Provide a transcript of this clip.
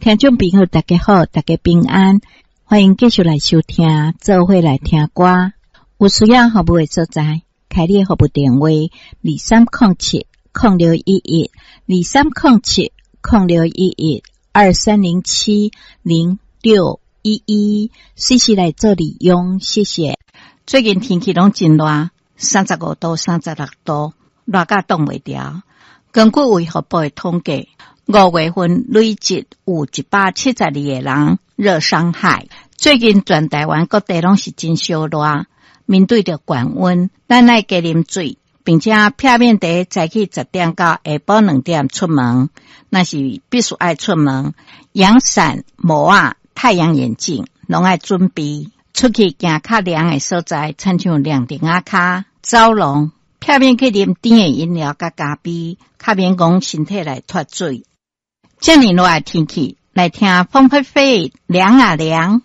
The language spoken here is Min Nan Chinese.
聽眾朋友大家好，大家平安，歡迎繼續來收聽，做伙來聽歌。有需要服務的所在，開你的服務電話：23070611，23070611，23070611，隨時來做利用，謝謝。最近天氣攏真熱，35度、36度，熱甲擋袂牢。根據衛福部的統計，5月份累計有172個人熱傷害。最近全台灣各地攏是真燒熱，面對著懸溫，咱愛加啉水，並且避免佇早起10點到下晡2點出門。若是必須愛出門，陽傘、帽仔、太陽眼鏡攏愛準備。出去行較涼的所在，親像涼亭仔跤、走廊，避免去啉甜的飲料佮咖啡，較免講身體來脫水。這麼熱的天氣，來聽鳳飛飛涼啊涼。